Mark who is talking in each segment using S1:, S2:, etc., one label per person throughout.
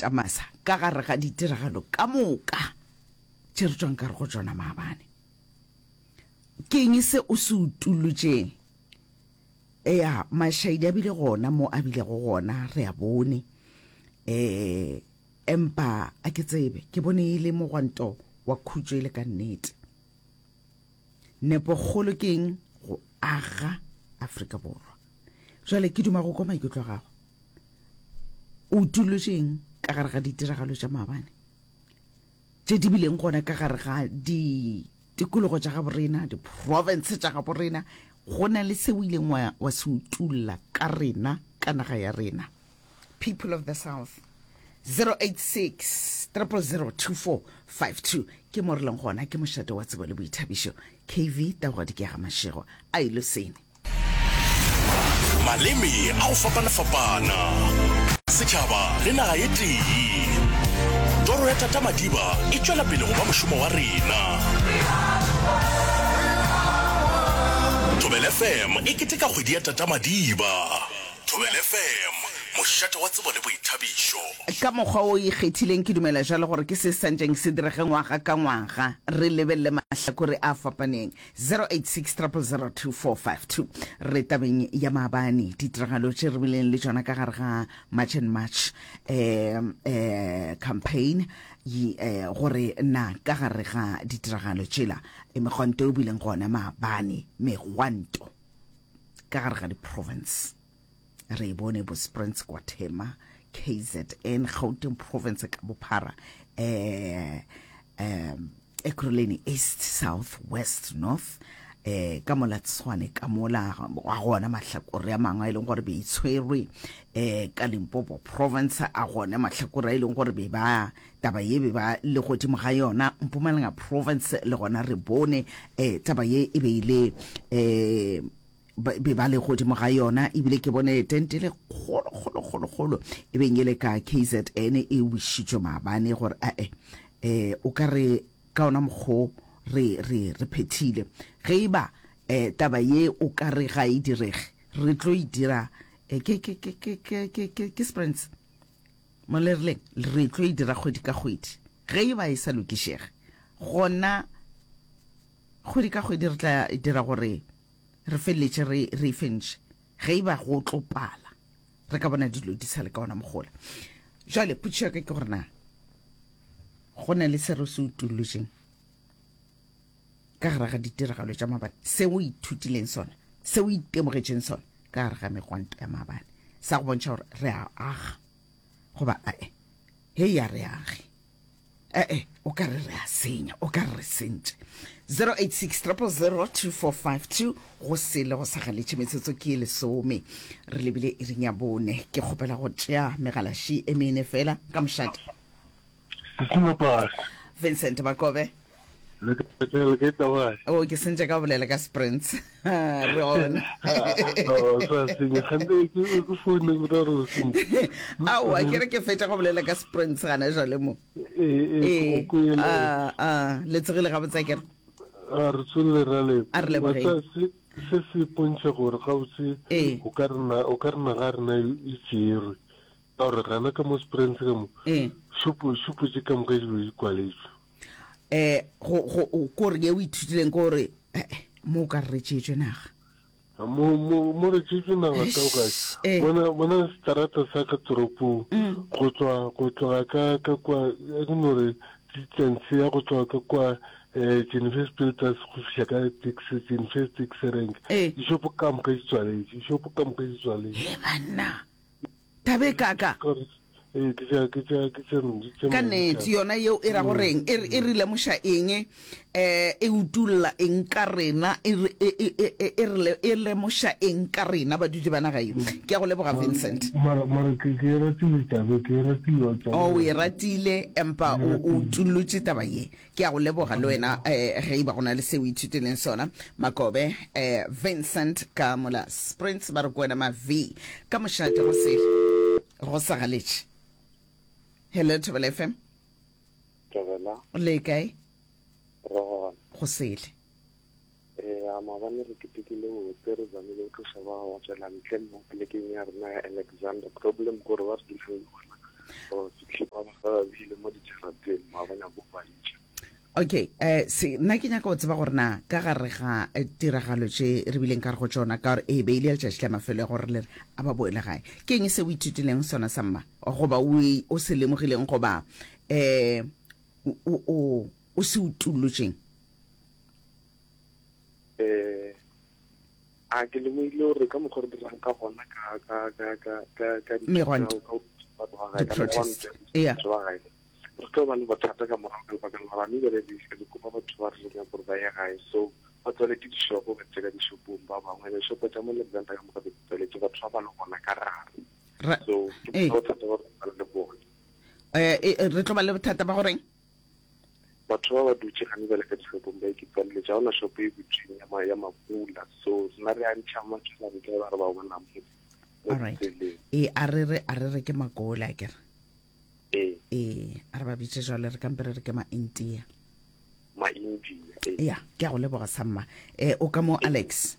S1: Matamasa ka gare ga ditiragalo ka moka tše re tšwang ka re go tšona maabane? Ke eng se o se utolotšeng? Eya, mašaedi a bile gona mo a bilego gona, re a bone. Um empa a ke tsebe, ke bone e le mogwanto wa khutšo e le ka nnete. Nepokgolo ke eng? Go aga Afrika Borwa. Jwale ke duma go kwa maikutlo a gago. O utolotše eng ka gare ga ditiragalo tša maabane tše di bileng gona ka gare ga ditikologo tša gaborena, diprovince tša gaborena? Go na le se o ileng wa, wa se utolla ka rena, ka naga ya rena? People of the South. 086 000 2452 ke mo re leng gona, ke mošate wa tsebo le boithabišo. KV Taugadi ke ya ga Mashego a Ilosene.
S2: Maleme a go fapana-fapana, setšhaba le naga ye tee. Toro ya Tata Madiba e tšwela pele go ba mošomo wa rena. Thobela FM e keteka kgwedi ya Tata Madiba. Thobela FM, mošate wa tsebo le boithabišo.
S1: Ka mokgwa o ikgethileng, ke dumela jalo gore ke se santšeng se direge ngwaga ka ngwaga, re lebelele mahlakore a fapaneng. 086 000 2452. Re tabeng ya maabane, ditiragalo tše re bileng le tšona ka gare ga March and March eh, eh, campaign eh, gore na ka gare ga ditiragalo tšela eh, megwanto e bileng gona maabane, megwanto ka gare ga di-province re e bone bo Springs kwa Thema, KZN, Gauteng province ka bophara, eh, um, Ekurhuleni East, South, West, North, eh ka mola Tshwane ka mola ga gona mahlakore a mangwe a e leng gore be itshwerwe eh ka Limpopo province a gona mahlakore a e leng gore be ba taba ye be ba le godimo ga yona Mpumalanga province le gona re bone eh taba ye e be ile eh be ba le godimo ga yona ebile ke bone tente le kgolo kgolo kgolo kgolo e beng e le ka KZN e wišitšwe maabane gore ae eh o ka re ka ona mokgo re re re phethile ge e ba eh taba ye o ka re ga e direge re tlo e dira eh, ke ke ke ke ke ke ke ke sprints mo le rileng re tlo e dira kgwedi ka kgwedi ge e ba e sa lokišege gona kgwedi ka kgwedi re tla dira gore re feleletše re re e fentše ge e ba go tlo pala re ka bona dilo di sa le ka ona mogola jale potšišo ya ka ke gore na go na le se re se utollotšeng ka gare ga ditiragalo tša maabane se o ithutileng sona se o itemogetšeng sona ka gare ga megwanto ya maabane sa go bontšha gore re a aga goba ae hei ya re age ee o ka re re a senya o ka re re sentše 086 000 2452 go sele go sa galetše metsotso ke e lesome re lebile iring ya bone ke kgopela go tšea megalaši e mene fela ka mošate Vincent Makobe
S3: Le ke le ke taba.
S1: O ke sentše ka bolela ka sprints. Re ona.
S3: O sa senya gante ke ke phone go ra re sentše.
S1: Aowa ke re ke fetša go bolela ka sprints gana jwale mo.
S3: Ee ee go kwele.
S1: A a le tsogile gabotse akere.
S3: A re tswele ra le.
S1: A re lebogeng.
S3: Se se se pontšha gore gabotse o ka rena o ka rena ga rena e tšerwe. Ka gore gana ka mo sprints ka mo. Šupo šupo tše ka moka di be di kwaletšwe.
S1: eh go go ko re ye o ithutileng ko re eh, eh mo ka re tšetšwe naga
S3: mo mo mo re tšetšwe naga ka o kae eh. bona bona strata sa ka toropong mm. go tswa go tloga ka ka kwa ke no re distance ya go tloga ka kwa eh Jennifer Spilters go fihla ka taxi Jennifer taxi rank
S1: eh.
S3: dishopo ka moka di tswaletše dishopo ka moka di tswaletše
S1: he banna Thabe kaka. Ka nnete, yona yeo e ra goreng? E, e re lemoša eng? Um e utolla eng ka rena? E, e, e, e, e, re, e lemoša eng ka rena badudi ba naga ye? Ke a go leboga, Vincent.
S3: Mara, mara ke, ke e ratile taba, ke e ratile taba.
S1: Oh, o e ratile, empa o, o utollotše taba ye. Ke a go leboga le wena eh, ge e ba go na le se o ithutileng sona. Makobe eh, Vincent ka mola Sprints ba re ko wena ma V ka mošate go se go sa galetše. Hello Thobela FM.
S4: Thobela.
S1: Le kae?
S4: Re gona.
S1: Go sele.
S4: Ee, a maabane re ketekile botse re zamile go tloša ba ba tswela ntle mo polekeng ya rena ya Alexander. Problem gore ba re dulang gona. Ba fihle ba ba bile mo dijarateng ba ba nyako ba itša.
S1: Okay, eh se nna ke nyaka go tseba gore na ka gare ga eh, tiragalo tše re bileng ka re go tšona ka gore e be ile letšatši la mafelo ya gore le re a ba boele gae. Ke eng se o ithutileng sona sa mma goba o o se lemogileng goba eh o o o se utullotšeng?
S4: Eh a ke lemogile gore ka mokgwa re dirang ka gona ka ka ka ka ka ka
S1: megwanto di-protest yeah
S4: re tlo ba le bothata ka morago ka lebaka la gore ane bjale re kopa batho ba re re nyaka gore ba ye gae so ba tswaletše dishopo ba tse ka dishopong ba bangwe dishopo tša mo Alexander ka moka di tswaletše batho ba ba le gona ka gare so ke bothata ba re le bone
S1: eh, eh, re tlo ba le bothata ba goreng
S4: Batho ba ba dutše gane bjale ka dishopong ba ikitswaletše, ga gona shopo e butšweng ya, ya mapula, so rena re a ntšha matšhela ntle ba re ba bona mo
S1: mo ditseleng. E a re re a re re ke makola a kere.
S4: Ee.
S1: Ee, a re ba bitše jwale re kampe re re ke ma-India.
S4: Ma-India,
S1: ee. Ya, ke a go leboga samma. Eh, o ka mo Alex?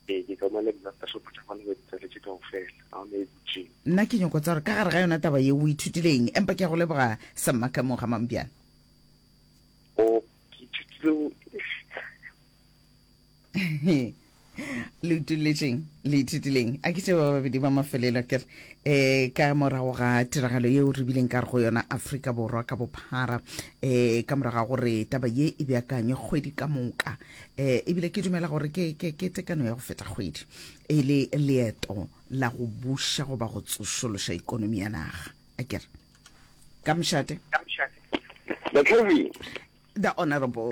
S4: Ee, ke ka mo Alexander, shopo tša gona ba di tswaletše kaofela, ga gona e butšweng.
S1: Nna ke nyoko tsa gore ka gare ga yona taba ye o ithutile eng, empa ke a go leboga samma ka mo ga Mampjane.
S4: O, ke ithutile go.
S1: Le utolletšeng, le ithutileng? A ke tše ba babedi ba mafelelo ke re um ka morago ga tiragalo yeo re bileng ka re go yona Afrika Borwa ka bophara um ka morago ga gore taba ye e beakanywe kgwedi ka moka um ebile ke dumela gore ke, ke, ke tekano ya go feta kgwedi e le leeto la go buša goba go tsošološa ikonomi ya naga a kere ka mošate
S5: The Kevin.
S1: The Honorable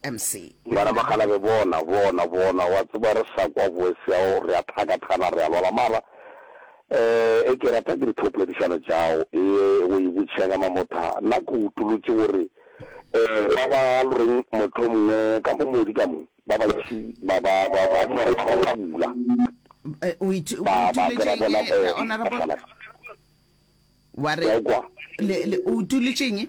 S1: MC.
S5: Bana ba kgalabe bona, bona, bona, wa tseba re sa kwa voice ya go re a thakathana re a lwala mara eh e ke rata ke dithopoledišano tšago e o e botšha ka mamotha nna ke utolotše gore Eh, ba ba loreng mohlomongwe ka mo modi ka mo, ba bantši ba ba ba ba ba ba bula.
S1: Eh, o ithu- o
S5: Ba ba
S1: utulotše
S5: kera
S1: eng,
S5: bona
S1: eh,
S5: eh,
S1: honorable?
S5: bahlala.
S1: Wa re
S5: Ke a kwa.
S1: le le o utulotše eng?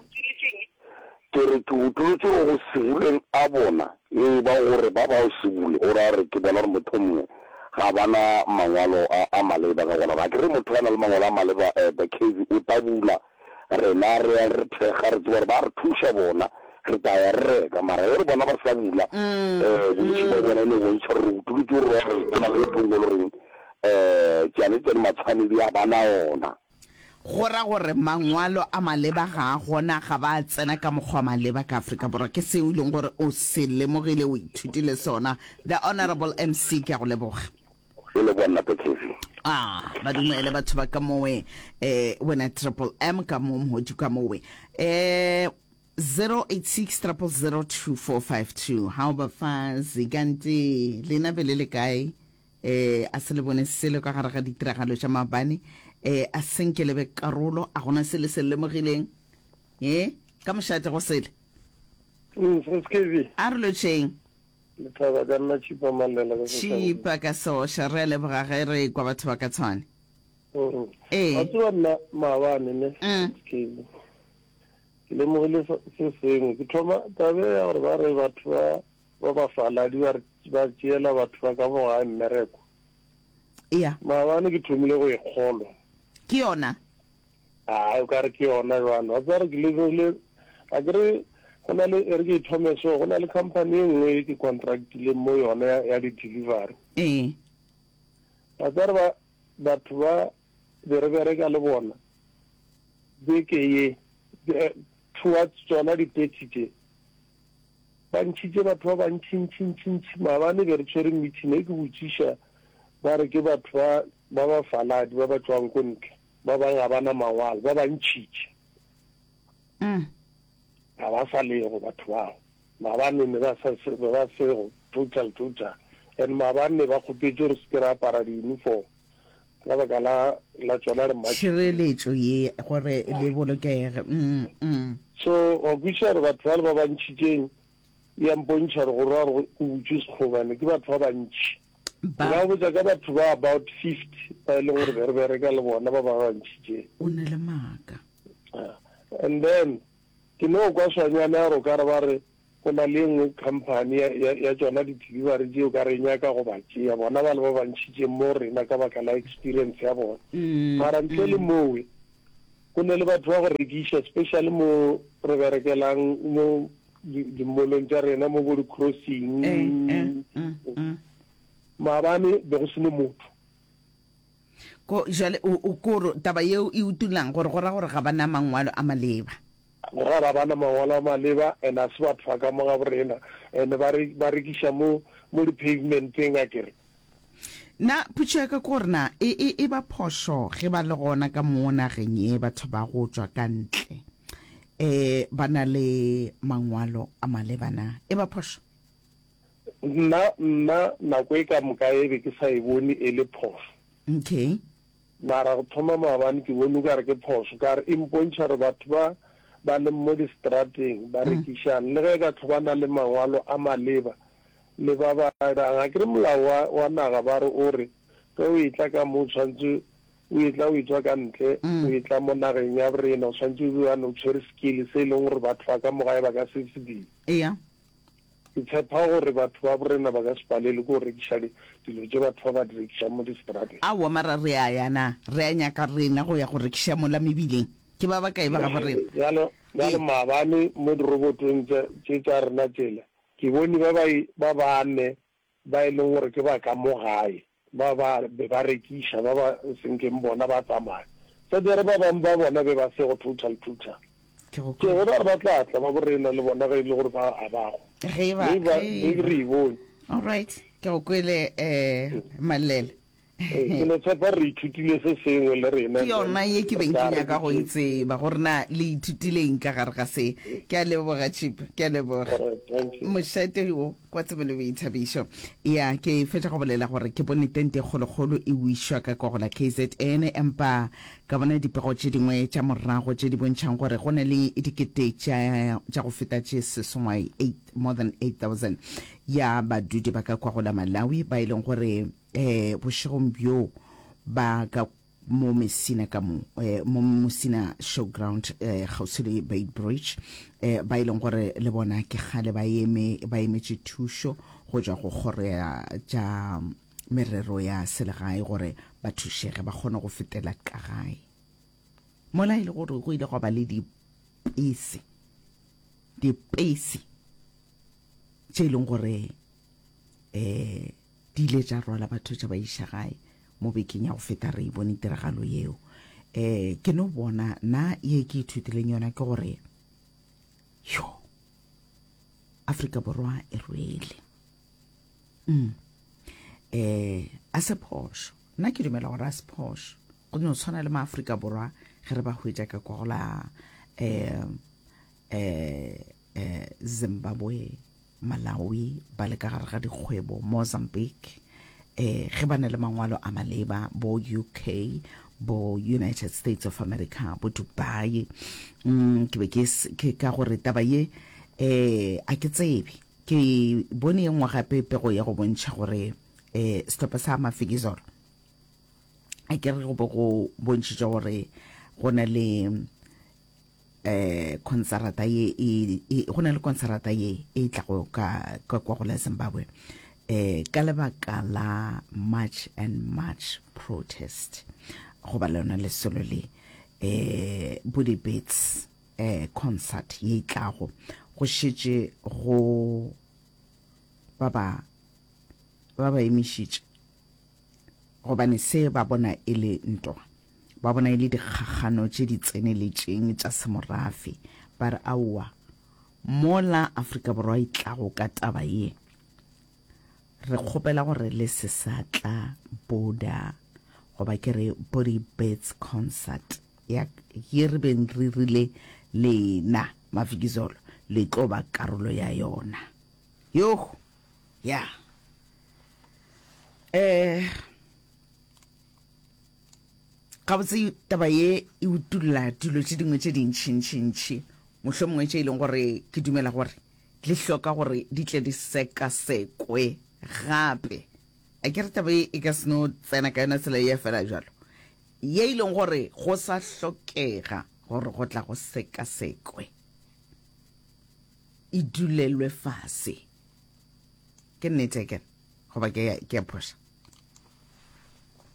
S5: Ke re ke utulotše gore go sebuleng a bona e ba gore ba ba o sebule go ra gore ke bona gore mohlomongwe ga ba na mangwalo a a maleba ka gona ga ke re motho a na le mangwalo a maleba eh, the case o tla bula Rena re ya re thekga, re tseba gore ba re thuša bona, re tla ya re reka. Mara ge re bona ba sa bula, um bontši ba bona e no bontšha gore re utolotše gore gore go na le ntho nngwe e le goreng um tšane tša matshwanedi a ba na ona.
S1: Go ra gore mangwalo a maleba ga a gona, ga ba a tsena ka mokgwa wa maleba ka Afrika Borwa. Ke seo e leng gore o se lemogile, o ithutile sona. The Honourable MC, ke a go leboga.
S5: E leboga nna Patrick.
S1: Ah, ba dumele batho ba ka mowe eh wena triple M ka mo mhodi ka mowe. Eh 086 0002452 how bafazi kanti lena be le le kae eh a se le bone selo ka gare ga ditiragalo tša maabane eh a senke le be karolo a gona se le se lemogileng eh ka mošate go sele
S3: Mm,
S1: a re lotšheng
S3: Lethaba ka nna Tšhipa Mallela ka Soshanguve.
S1: Tšhipa ka Sosha, re a leboga ge re kwa batho ba ka Tshwane.
S3: Mm.
S1: Ee.
S3: Wa tseba nna maabane ne
S1: Mm.
S3: ke ke lemogile se se sengwe ke thoma tabe ya gore ba re batho ba ba bafaladi ba re ba tšeela batho ba ka mo gae mmereko
S1: Ea.
S3: maabane ke thomile go e kgolwa
S1: Ke yona.
S3: Ai, o ka re ke yona jwale. Wa tseba gore ke lemogile, a ke re go na le, e re ke e thome so, go na le company e nngwe e ke contractileng mo yona ya, ya di-delivery.
S1: Ee.
S3: Wa tseba gore ba, batho ba be re bereka le bona beke ye, eh, towards tsona di-thirty tše, ba ntšhitše batho ba bantšintšintšintši. Maabane be re tshwere meeting e ke botšiša, ba re ke batho ba, ba bafaladi ba ba tšwang ko ntle. Ba bang ga ba na mangwalo, ba ba ntšhitše. Ga ba sa lego batho bao. Maabane ne ba sa be ba sego total total. And maabane ne ba kgopetše gore se ke ra apara di-uniform ka baka la la tšona re
S1: Tšhireletšo ye gore le bolokege. Mm, mm.
S3: So wa kwešiša gore batho bale ba ba ntšhitšeng e a mpontšha gore go ra gore go butšwe sekgoba ne ke batho ba bantši.
S1: Ba.
S3: Nka go botša ka batho ba about 50 ba e leng gore be re bereka le bona ba ba bantši tše.
S1: O na le maaka.
S3: Ah, and then ke no kwa swanyana ya gore o ka re ba re go na le e nngwe company ya, ya, ya tšona di-delivery tše o ka re e nyaka go ba tšea bona ba le ba bantšhitšeng mo rena ka baka la experience ya bona.
S1: Mm,
S3: Mara ntle le
S1: mm.
S3: mowe.
S6: Go ne le batho ba go rekiša, especially mo re berekelang mo dimolong tša rena mo bo di-crossing. Maabane be go se ne motho.
S1: Ko jale o o koro taba yeo e utulang gore go ra gore ga ba na mangwalo a maleba.
S6: Go ra ga ba na mangwalo a maleba and a se batho ba ka mo ga borena and ba re ba rekiša mo mo di-pavementeng akere.
S1: Na potšo ya ka ke gore na e e e ba phošo ge ba le gona ka mo nageng ye batho ba go tšwa ka ntle eh ba na le mangwalo a maleba na e ba phošo?
S6: Nna, nna nako e ka moka e be ke sa e bone e le phošo.
S1: Okay.
S6: Mara go thoma maabane ke bone o ka re ke phošo, ka re e mpontšha gore batho ba ba leng mo distrateng ba rekišang, le ge e ka tlho ba na le mangwalo a maleba le ba ba dirang. Akere molao wa, wa naga ba re o re ge o etla ka mo o tshwanetse o etla o etšwa ka ntle, o etla mo nageng ya borena o tshwanetse o be o tshwere skill se e leng gore batho ba ka mo gae ba ka se se dire.
S1: Eya.
S6: Ke tshepa gore batho ba borena ba ka se palelwe ke go rekiša dilo tše batho ba ba di rekišang mo diseterateng.
S1: Aowa, mara re a ya na? Re a nyaka rena go ya go rekiša mola mebileng? Ke ba bakae ba gabo rena?
S6: Bjalo, bjalo maabane mo dirobotong tša, tše tša rena tšela, ke bone ba ba, ba bane ba e leng gore ke ba ka mo gae, ba ba be ba rekiša, ba ba senkeng bona ba tsamaya. Sa jare ba bangwe ba bona be ba se go total total.
S1: Ke go
S6: Ke gona gore ba tla tla ba borena le bona ge e le gore ba a bago.
S1: Ge ba,
S6: Mme ba,
S1: ge
S6: mme re e bone.
S1: All right, ke go kwele eh Mallela.
S6: Ee, ke no tshepa re ithutile se sengwe le rena.
S1: Ke yona ye ke beng ke nyaka go e tseba gore na le ithutileng ka gare ga se. Ke a leboga Chip, ke a leboga. Mošate wo kwa tsebo le boithabišo. Ya, ke fetša go bolela gore ke bone tente e kgolokgolo e wišwa ka kwa go la KZN, empa ka bona dipego tše dingwe tša morago tše di bontšhang gore go na le dikete tša tša go feta tše seswai, more than 8000 ya badudi ba ka kwa go la Malawi ba e leng gore eh bošegong bjo ba ka mo Messina ka mo eh, mo Musina Showground eh, kgauswi le Beit Bridge eh, ba e leng gore le bona ke kgale ba eme ba emetše thušo go tšwa go kgoro ya tša merero ya selegae gore ba thušege ba kgone go fetela ka gae mola e le gore go ile gwa ba le dipese dipese tše e leng gore um di ile tša rwala batho tša ba iša gae mo bekeng ya go feta re e bone tiragalo yeo um ke no bona na ye ke ithutileng yona ke gore yo Afrika Borwa e rwele mm. eh a se phošo nna ke dumela gore a se phošo go no tshwana le maafrika borwa ge re ba hwetša ka kwa go la um eh eh Zimbabwe Malawi ba le ka gare ga dikgwebo Mozambique eh ge ba na le mangwalo a maleba bo UK bo United States of America bo Dubai mm, ke be ke ke ka gore taba ye eh a ke tsebe ke bone ye nngwe gape pego ya go bontšha gore eh sehlopha sa Mafikizolo a ke re go be go bontšhitše gore go na le eh konsarata ye e, e go na le konsarata ye e tlago ka ka kwa go la Zimbabwe eh ka lebaka la March and March protest goba lona lesolo le eh Body Beats eh concert ye e tlago go šetše go ba ba ba ba emišitše gobane se ba bona e le ntwa, ba bona e le dikgakgano tše di tseneletšeng tša semorafe. Ba re, Aowa, mola Afrika Borwa e tlago ka taba ye, re kgopela gore le se sa tla Boda, goba ke re Body Birds Concert ya ye re beng re rile lena Mafikizolo le tlo ba karolo ya yona. Yoh! Ya. Eh gabotse taba ye e utulla dilo tše dingwe tše dintšhintšhintšhi mohlomongwe tše e leng gore ke dumela gore di hloka gore di tle di sekasekwe gape. A ke re taba ye e ka se no tsena ka yona tsela ye fela jalo ye e leng gore go sa hlokega gore go tla go sekasekwe e dulelwe fase. Ke nnete ke goba ke ke a phoša?